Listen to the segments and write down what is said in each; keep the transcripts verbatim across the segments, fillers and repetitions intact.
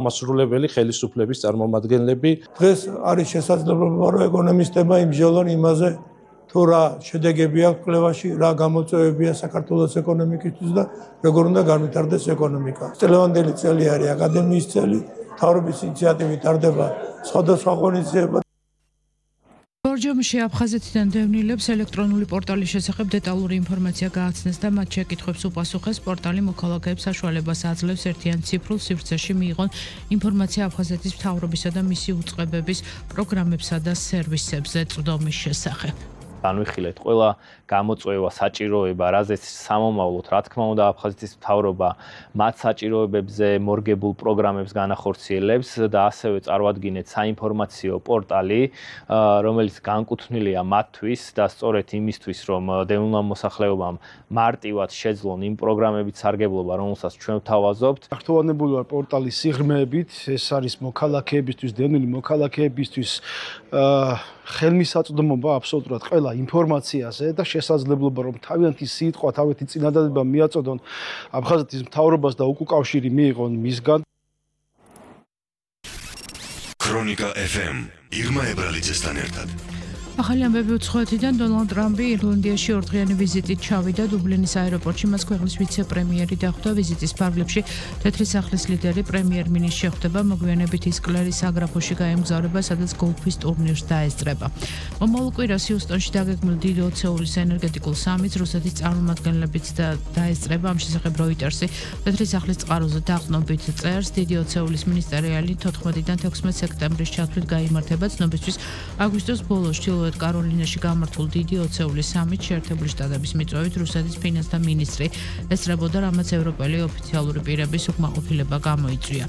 მასრულებელი ხელისუფლების წარმომადგენლები. დღეს არის შესაძლებლობა, რომ ეკონომისტებმა იმსჯელონ იმაზე, თუ რა შედეგები აქვს კვლევაში, რა გამოწვევებია საქართველოს ეკონომიკისთვის და როგორ უნდა განვითარდეს ეკონომიკა. წლევანდელი წელი არის აკადემიის წელი, მთავრობის ინიციატივით ტარდება სხვადასხვა ღონისძიება. ბორჯომში აფხაზეთიდან დევნილებს ელექტრონული პორტალის შესახებ დეტალური ინფორმაცია გააცნეს და მათ შეკითხვებს უპასუხეს. პორტალი მოქალაქეებს საშუალებას აძლევს ერთიან ციფრულ სივრცეში მიიღონ ინფორმაცია აფხაზეთის მთავრობისა და მისი უწყებების პროგრამებსა და სერვისებზე წვდომის შესახებ. განვიხილეთ ყველა გამოწვევა, საჭიროება, რაზეც სამომავლოდ, რა თქმა უნდა, აფხაზეთის მთავრობა მათ საჭიროებებზე მორგებულ პროგრამებს განახორციელებს და ასევე წარმოადგინეთ საინფორმაციო პორტალი, რომელიც განკუთვნილია მათთვის და სწორედ იმისთვის, რომ დევნილმა მოსახლეობამ მარტივად შეძლონ იმ პროგრამებით სარგებლობა, რომელსაც ჩვენ ვთავაზობთ. გართულებული ვარ პორტალის სიღრმეებით, ეს არის მოქალაქეებისთვის, დევნილი მოქალაქეებისთვის ხელმისაწვდომობა აბსოლუტურად ყველა ინფორმაციაზე და შესაძლებლობა რომ თავიანთი სიტყვა, თავიანთი წინადადება მიაწოდონ აფხაზეთის მთავრობას და უკავშირი მიიღონ მისგან. ქრონიკა ეფ ემ ირმა ებრალიძესთან ერთად. ახალი ამბები უცხოეთიდან დონალდ ტრამპი ირლანდიაში ორდღიანი ვიზიტით ჩავიდა დუბლინის აეროპორტში მას ქვეყნის ვიცე-პრემიერი დახვდა ვიზიტის ფარგლებში თეთრი სახლის ლიდერი პრემიერ-მინისტრი შეხვდება მოგვიანებით ის კლერის აგრაფოში გაემგზავრება სადაც გოლფის ტურნირს დაესწრება მომავალ კვირას ჰიუსტონში დაგეგმილ დიდი ოცეულის ენერგეტიკულ სამიტს რუსეთის წარმომადგენლებიც დაესწრება ამ შესახებ როიტერსი თეთრი სახლის წყაროზე დაყრდნობით წერს დიდი ოცეულის მინისტერიალი თოთხმეტიდან თექვსმეტ სექტემბრის ჩათვლით გაიმართება ცნობისთვის აგვისტოს ბოლოს კაროლინაში გამართულ დიდი ოცეულის სამიტს შეერთებული შტატების მიწვევით რუსეთის ფინანსთა მინისტრი ესწრებოდა, რამაც ევროპელი ოფიციალური პირების უკმაყოფილება გამოიწვია.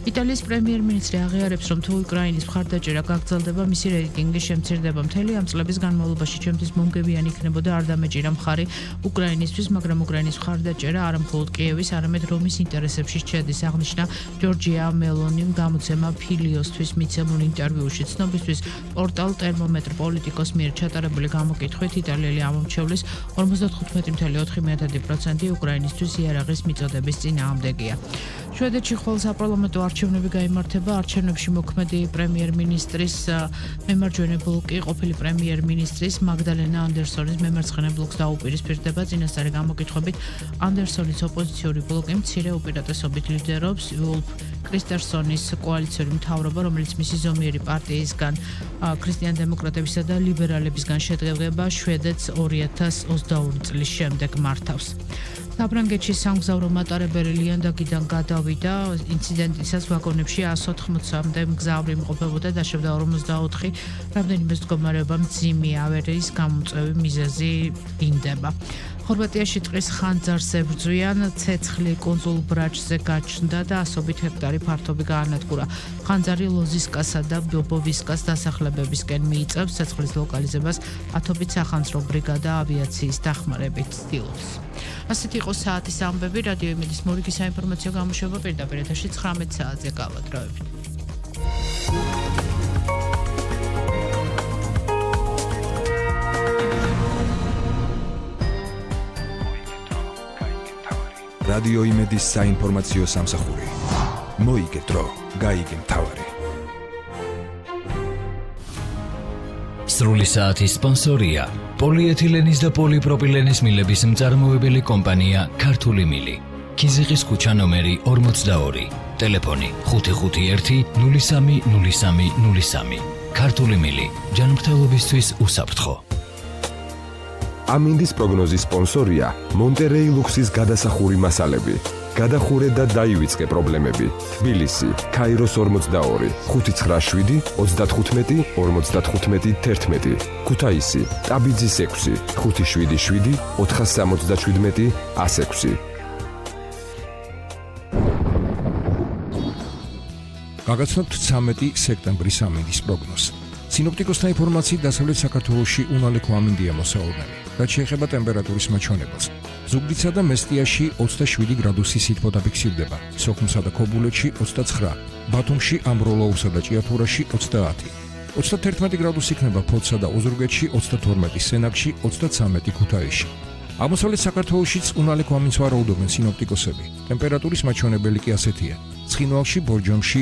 იტალიის პრემიერ-მინისტრი აღიარებს, რომ თუ უკრაინის მხარდაჭერა გაგრძელდება, მისი რეიტინგი შემცირდება. მთელი ამ წლების განმავლობაში ჩემთვის მომგებიანი იქნებოდა არ დამეჭირა მხარი უკრაინისთვის, მაგრამ უკრაინის მხარდაჭერა არა მხოლოდ კიევის, არამედ რომის ინტერესებში შედის, აღნიშნა ჯორჯია მელონიმ გამოცემა ფილიოსთვის მიცემულ ინტერვიუში. ცნობისთვის პორტალ ტერმომეტრ პოლიტიკოს მიერ ჩატარებული გამოკითხვით იტალიელი ამომრჩევლის ორმოცდათხუთმეტი წუთი ოთხი პროცენტი უკრაინისთვის იარაღის მიწოდების წინააღმდეგია. შვედეთში ხოლ საპარლამენტო არჩევნები გაიმართება. არჩევნებში მოქმედი პრემიერ-მინისტრის მემარჯვენე ბლოკი ყოფილი პრემიერ-მინისტრის მაგდალენა ანდერსონის მემარცხენე ბლოკს დაუპირისპირდება. წინასწარი გამოკითხვებით ანდერსონის ოპოზიციური ბლოკი მცირე უპირატესობით ლიდერობს ულფ კრისტერსონის კოალიციური მთავრობა, რომელიც მისი ზომიერი პარტიისგან ქრისტიან-დემოკრატებისა და ლიბერალებისგან შედგება, შვედეთს ორი ათას ოცდაორი წლის შემდეგ მართავს. საფრანგეთში სამგზავრო მატარებელი ლიანდაგიდან გადავიდა. ინციდენტისას ვაგონებში εκατს ოთხმოცამდე მგზავრი იმყოფებოდა, დაშვებდა ორმოცდაოთხი. რამდენიმე მდგომარეობა მძიმე ავარიის გამოწვევი მიზეზი დინდება. ხორვატიაში ტყის ხანძარს ებრძვიან, ცეცხლი კუნძულ ბრაჩზე გაჩნდა და ასობით ჰექტარი ფართობი გაანადგურა. ხანძარი ლოზისკასა და ბობოვისკას დასახლებებისკენ მიიწევს, ცეცხლის ლოკალიზებას ათობით სახანძრო ბრიგადა ავიაციის დახმარებით ცდილობს. ასეთი იყო საათის ამბები, რადიო იმედის მორიგი საინფორმაციო გამოშვება პირდაპირ ეთერში ცხრამეტ საათზე გავადროებით. რადიო იმედის საინფორმაციო სამსახური. მოიგე დრო, გაიგე მთავარი. სრული საათის სპონსორია პოლიეთილენის და პოლიპროპილენის მილების მწარმოებელი კომპანია ქართული მილი. ქიზიყის ქუჩა ნომერი ორმოცდაორი. ტელეფონი ხუთი ხუთი ერთი ნული სამი ნული სამი ნული სამი. ქართული მილი. ჯანმრთელობისთვის უსაფრთხო. ამინდის პროგნოზის სპონსორია მონტერეი ლუქსის გადასახური მასალები. გადახურე და დაივიწყე პრობლემები. თბილისი, ქაიროს ორმოცდაორი, ხუთი ცხრა შვიდი ოცდათხუთმეტი ორმოცდათხუთმეტი თერთმეტი. ქუთაისი, ტაბიძის ექვსი, ხუთი შვიდი შვიდი ოთხას სამოცდაშვიდმეტი ას ექვსი. გაგაცნობთ ცამეტი სექტემბრის ამინდის პროგნოზს. სინოპტიკოსთა ინფორმაციით დასავლეთ საქართველოში უნალექო ამინდია მოსაუბნელი. რაც შეეხება ტემპერატურის მაჩვენებელს. ზუგდიდსა და მესტიაში ოცდაშვიდი გრადუსი სითბო დაფიქსირდება, სოხუმსა და ქობულეთში ოცდაცხრა, ბათუმში, ამბროლაურსა და ჭიათურაში ოცდაათი. ოცდათერთმეტი გრადუსი იქნება ფოთსა და ოზურგეთში, ოცდათორმეტი სენაკში, ოცდაცამეტი ქუთაისში. აღმოსავლეთ საქართველოშიც უნალექო ამინდს ვარაუდობენ სინოპტიკოსები. ტემპერატურის მაჩვენებელი კი ასეთია: ცხინვალში, ბორჯომში,